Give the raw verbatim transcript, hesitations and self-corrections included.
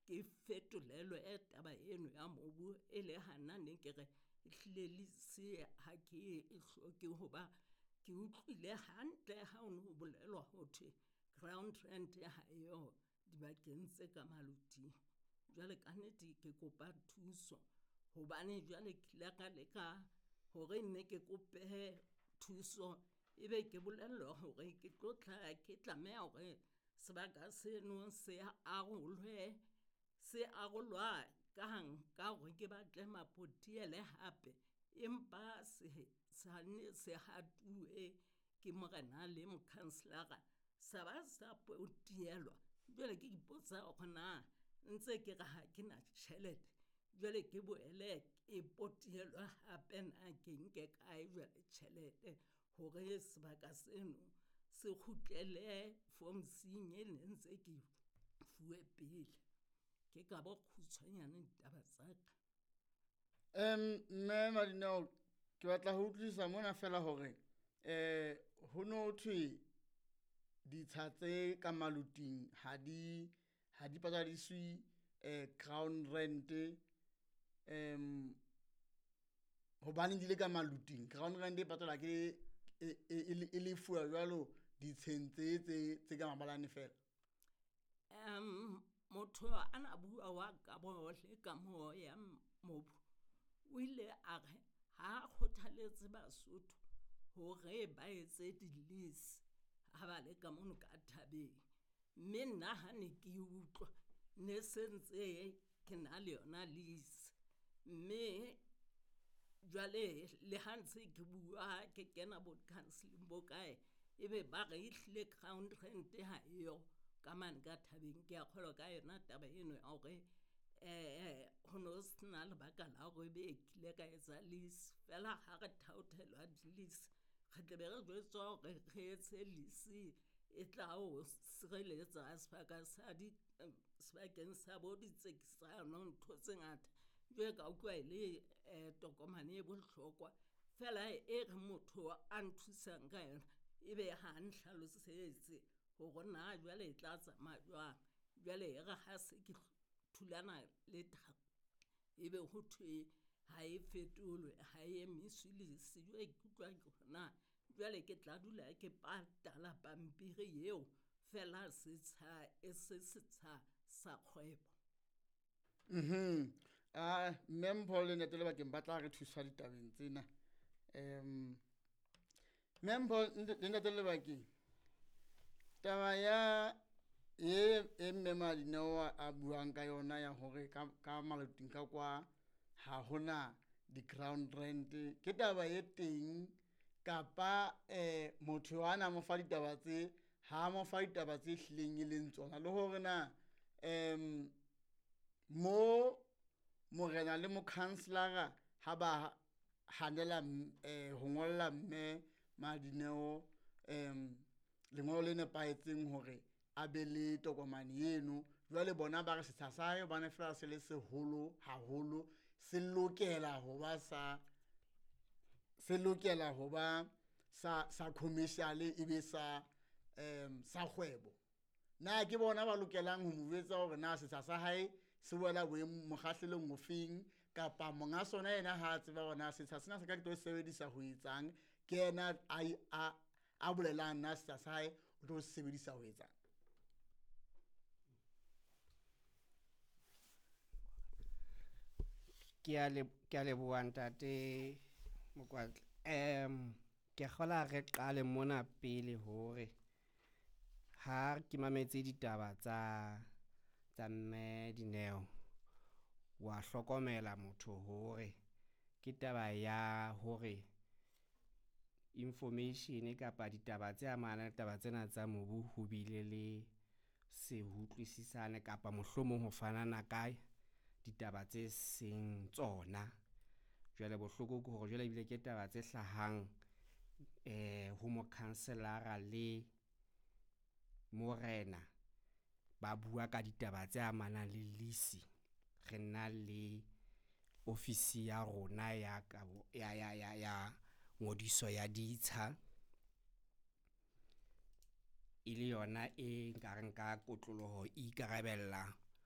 ke fetolelwe taba eno ya mobu e le hana ne ke re ehlile lease ha ke e hloke hoba ke utlwile hantle ha o no bolelwa ho thwe ground rent ha eyo dibakeng tse ka maloting. Jwale ka nnete ke kopa thuso hobane jwale ke ile ka leka hore nne ke kope thuso, ebe ke bolellwa hore ke tlo tla ke tlameha hore sebaka seno se arolwe, se arolwa kang ka hore ke batle mapotiele hape, empa se sane se hatuwe ke morena le mokhanselara sa ba sa potielwa. Jwale ke ipotsa hore na ntse ke re ha ke na tjhelete, jwale ke boele e potielwe hape na ke nke kae jwale tjhelete hore sebaka seno se kgutlele fomsing e ne ntse ke fuwe pele. Ke ka bokgutshwanyane ditaba tsa ka. Um mme Madineo, ke batla ho utlwisisa mona fela hore eh ho no thwe ditsha tse ka maloting ha di ha di patadiswe eh ground rent um hobane di le ka maloting. Ground rent e patalwa ke e e e lefuwa jwalo ditsheng tse tse tse ka mabalane fela. Um motho ana bua wa kabo le kamoho ya mobu, o ile a re ha kgothaletse Basotho hore ba etse di-lease ha ba le ka mono ka thabeng. Mme nna ha ne ke utlwa ne se ntse ke na le yona lease, mme jwale le ha ntse ke bua ke kena bo counseling bo kae, ebe ba re ehlile ground rent ha eyo ka mane ka thabeng. Ke a kgolwa ka yona taba eno ya hore eh ho no sena lebaka la hore ebe kile ka etsa lease fela ha re thaothelwa di-lease, re tle be re jwetswa hore re etse lease e tla o sireletsa sebaka sa di sebakeng sa bo ditsekisano ntho tse ngata. Jwale ka utlwa e le eh tokomane e bohlokwa fela e re motho a nthusang ka yona, ebe ha nhlalosetse hore na jwale e tla tsamaya jwang. Jwale e re ha se ke thulana le ebe ho thwe ha e fetolwe, ha e emiswe lease. Jwale ke utlwa ke hore na jwale ke tla dula ke patala pampiri eo fela setsha e se setsha sa kgwebo. Mhm. Ah mme Mpho le Ntate Lebakeng ba tla re thusa ditabeng tsena. Um mme Mpho le Ntate Lebakeng, taba ya e e mme Madineo a buang ka yona ya hore ka ka maloting ka kwa ha hona di-ground rent ke taba e teng kapa eh motho ana mo fa ditaba tse ha mo fa ditaba tse hlileng e leng tsona, le hore na um mo morena le mokhanselara ha ba hanela eh ho ngolla mme Madineo um lengolo le nepahetseng hore a be le tokomane eno, jwale bona ba re setsha sa hae hobane fela se le seholo haholo se lokela ho ba sa se lokela ho ba sa sa commercial e be sa um sa kgwebo. Na ke bona ba lokelang ho mo jwetsa hore na setsha sa hae se wela boemong mokgahlelong ofeng, kapa monga sona yena ha a tseba hore na setsha sena se ka ke tlo sebedisa ho etsang, ke yena a a a bolelang na setsha sa hae o tlo se sebedisa ho etsang. Ke a le ke a leboha ntate Mokwatla. Um ke kgola re qale mona pele hore ha ke mametse ditaba tsa tsa mme Dineo, wa hlokomela motho hore ke taba ya hore information kapa ditaba tse amanang le taba tsena tsa mobu ho bile le se utlwisisane kapa mohlomong ho fanana ka ditaba tse seng tsona. Jwale bohloko ke hore jwale ebile ke taba tse hlahang eh ho mokhanselara le morena ba bua ka ditaba tse amanang le lease. Re na le ofisi ya rona ya kabo ya ya ya ya ngodiso ya ditsha, e le yona e nkareng ka kotloloho e ikarabella